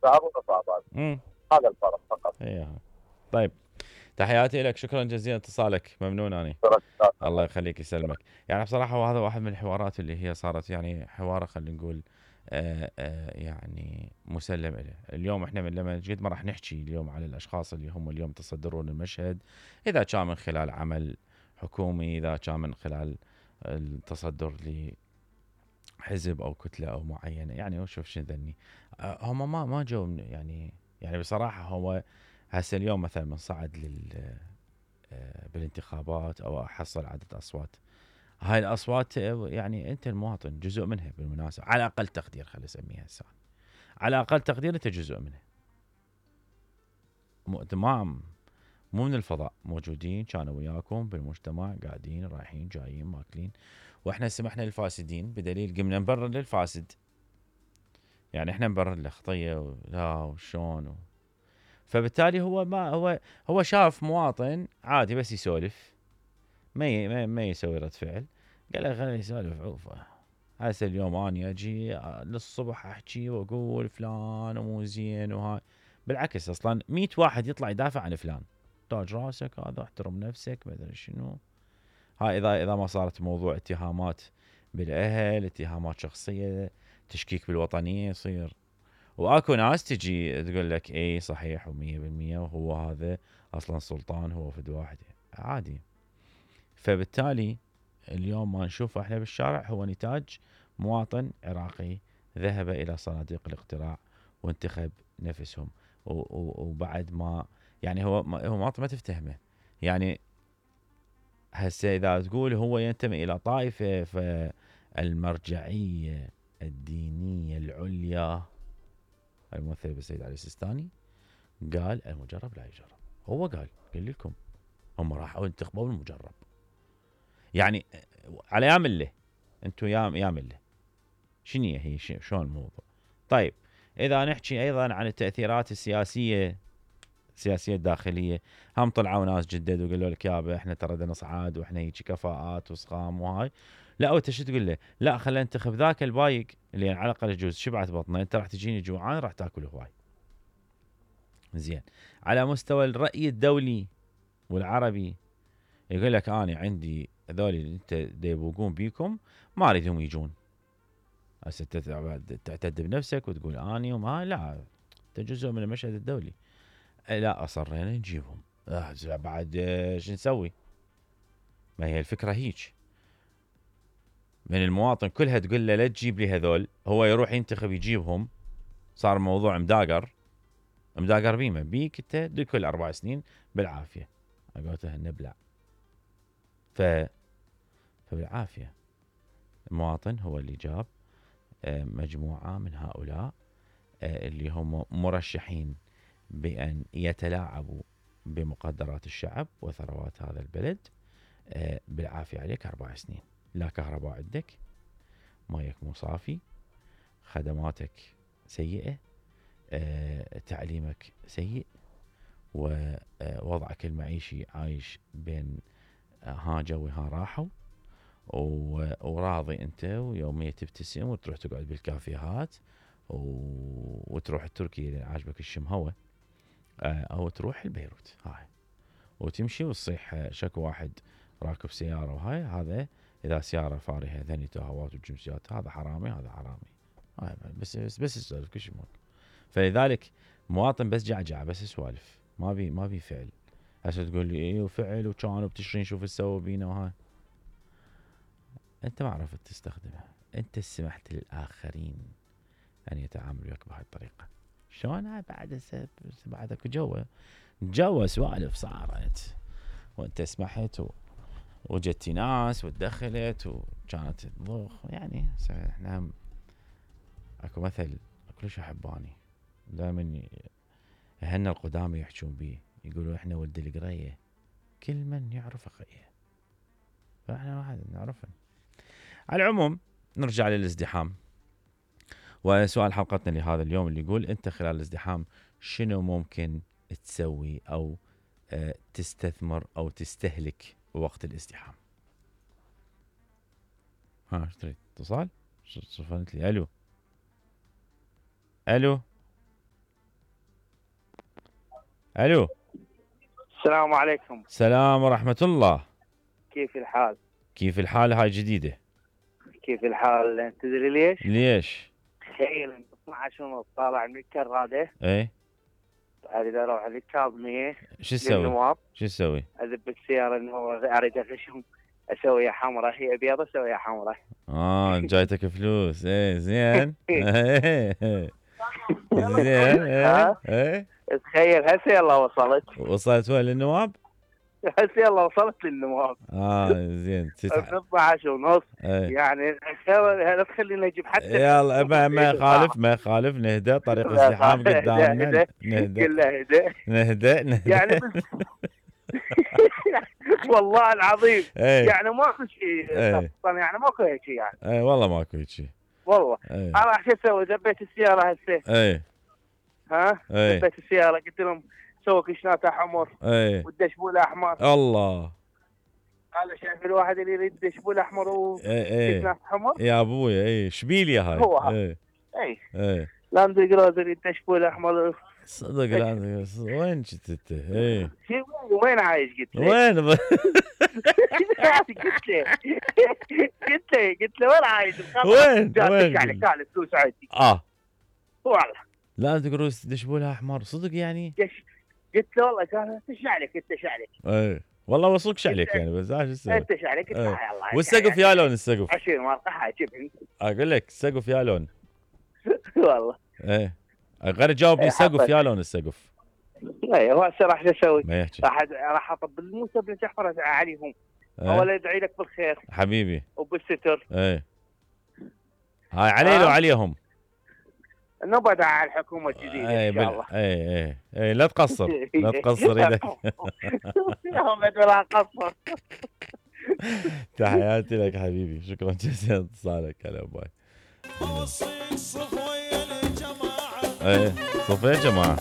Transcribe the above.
شهر ونص اعطاني. هذا الفرق فقط. طيب تحياتي لك، شكرا جزيلا اتصالك، ممنون اني. الله يخليك يسلمك. يعني بصراحه هذا واحد من الحوارات اللي هي صارت يعني حوار خلينا نقول يعني مسلم له. اليوم احنا لما قد ما راح نحكي اليوم على الاشخاص اللي هم اليوم تصدرون المشهد، اذا كان من خلال عمل حكومي، اذا كان من خلال التصدر لحزب او كتله او معينه، يعني وشوف شو ذني هم ما جو يعني بصراحه هو هسه اليوم مثلا من صعد بالانتخابات او احصل عدد اصوات، هاي الاصوات يعني انت المواطن جزء منها بالمناسبه، على اقل تقدير خلينا نسميها هسه، على اقل تقدير انت جزء منها. تمام، مو من الفضاء، موجودين كانوا وياكم بالمجتمع، قاعدين رايحين جايين ماكلين، واحنا سمحنا للفاسدين بدليل قمنا نبرر للفاسد. يعني احنا نبرر له خطيه لا وشون فبالتالي هو ما هو شاف مواطن عادي بس يسولف، ما يسوي رد فعل، قال له خليه يسولف عوفه. هسه اليوم اني اجي للصبح احكي واقول فلان ومو زين وهاي، بالعكس اصلا 100 واحد يطلع يدافع عن فلان، تاج راسك هذا، احترم نفسك، ما ادري شنو. هاي اذا ما صارت موضوع اتهامات بالاهل، اتهامات شخصيه، تشكيك بالوطنيه يصير. واكو ناس تجي تقول لك اي صحيح و100% وهو هذا اصلا سلطان، هو فد واحد عادي. فبالتالي اليوم ما نشوفه احنا بالشارع هو نتاج مواطن عراقي ذهب الى صناديق الاقتراع وانتخب نفسهم، وبعد ما يعني هو مواطن ما تفتهمه. يعني هسه اذا تقول هو ينتمي الى طائفه، فالمرجعيه الدينيه العليا الممثل بالسيد علي السيستاني قال المجرب لا يجرب. هو قال لكم هم راحوا انتخبوا المجرب، يعني على يا مله انتم يا مله شنو هي شلون الموضوع. طيب اذا نحكي ايضا عن التاثيرات السياسيه الداخليه، هم طلعوا ناس جدد وقالوا لك يابا احنا ترى نصعد واحنا هيك كفاءات وصخام وهاي، لا انت شو تقول له؟ لا خلينا ننتخب ذاك البايق اللي على الاقل يجوز شبعت بطنه، انت راح تجيني جوعان راح تاكل هواي. زين، على مستوى الراي الدولي والعربي يقول لك انا عندي هذول اللي انت يبوقون بيكم ما اريدهم يجون. هسه تعتد بنفسك وتقول اني وما، لا انت جزء من المشهد الدولي. لا اصرينا نجيبهم، بعد شو نسوي؟ ما هي الفكره هيك، من المواطن كلها تقول له لا تجيب لي هذول، هو يروح ينتخب يجيبهم، صار الموضوع مداقر بيمه بيك انت كل 4 سنين بالعافيه. قلت نبلع فبالعافيه. المواطن هو اللي جاب مجموعه من هؤلاء اللي هم مرشحين بأن يتلاعبوا بمقدرات الشعب وثروات هذا البلد. بالعافية عليك 4 سنين، لا كهرباء عندك، مايك مو صافي، خدماتك سيئة، تعليمك سيء، ووضعك المعيشي عايش بين ها جوي ها راحوا، وراضي انت ويومية تبتسم وتروح تقعد بالكافيهات وتروح التركي اللي عاجبك الشمهوة، او تروح البيروت هاي وتمشي وتصيح شكو واحد راكب سيارة وهاي، هذا اذا سيارة فارهة ثاني تهوات وجنسيات هذا حرامي هذا حرامي. هاي بس يسولف كل شيء. فلذلك مواطن بس جعجعة بس سوالف، ما بي فعل. هسه تقول لي ايه وفعل وكانوا بتشرين شوف سووا بينا وهاي، انت ما عرفت تستخدمها، انت سمحت للاخرين ان يتعاملوا وياك بهاي الطريقة. شلون بعد اكو جوا سوالف صارت وانت سمحت وجتي ناس وتدخلت وكانت تضخ. يعني احنا اكو مثل كلش احباني دائما هن القدامى يحجون بيه، يقولوا احنا ولد القريه كل من يعرف اخيه، فاحنا واحد نعرفه. على العموم نرجع للازدحام، وسؤال حلقتنا لهذا اليوم اللي يقول انت خلال الازدحام شنو ممكن تسوي او تستثمر او تستهلك وقت الازدحام؟ ها ايش تريد؟ اتصال؟ صفنت لي الو الو. السلام عليكم. السلام ورحمة الله. كيف الحال؟ كيف الحال؟ هاي جديدة. كيف الحال؟ تدري ليش؟ ليش؟ تخيل 12 ونص طالع من الكرادة، ايه اريد اروح للكاظمية شو تسوي؟ للنواب، شو تسوي؟ اذب السيارة النواب، اريد اغشهم اسويها حمراء، هي بيضة اسويها حمراء. جايتك فلوس. ايه زين. زين. ها؟ ايه تخيل هسه يلا وصلت. وصلت وين للنواب؟ هسه يلا وصلت للنواب. زين. 12 ونص. ايه. يعني لا تخليني اجيب حتى. يلا ما يخالف نهدى، طريق الزحام قدامنا. نهدى كله هدى. نهدى. يعني والله العظيم. ايه. يعني ماكو شيء. ايه. يعني ماكو هيك يعني. ايه والله ماكو هيك شيء. والله. ايه. انا شو اسوي؟ دبيت السيارة هسه. ايه. ها؟ ايه. دبيت السيارة، قلت لهم سووا كشناتها حمر ايه. والدشبول احمر. الله. هذا شايف الواحد اللي يريد دشبول احمر ايه. وكشنات حمر. يا ابويا ايه شبيليا هاي. هو هذا. ايه. اي. ايه. لاند كروزر الدشبول احمر. صدق لا وين جيت انت؟ ايه. وين عايش؟ قلت له. وين؟ قلت له وين عايش؟ وين؟ يعني كان فلوس عندي. والله. لا تقولوا دشبولها احمر صدق يعني؟ قلت له والله كان ايش عليك انت ايش عليك؟ ايه والله وصلكش عليك يعني، بس ايش تسوي؟ انت ايش عليك؟ ايه. يلا. والسقف يا لون السقف؟ 20 ورقه حاجبني. اقول لك السقف يا لون. والله. ايه غير جاوبني السقف يا لون السقف. ايه هو هسه راح اسوي؟ ما يحكي. راح اطب الموسى بن جعفر عليهم. ايه. اول يدعي لك بالخير حبيبي وبالستر. ايه. هاي علي وعليهم. نبعد على الحكومه الجديده ان شاء الله. ايه لا تقصر. لا تقصر ايدك. ولا قصر. تحياتي لك حبيبي، شكرا جزيلا اتصالك. هلا باي. ايه صف يا جماعه.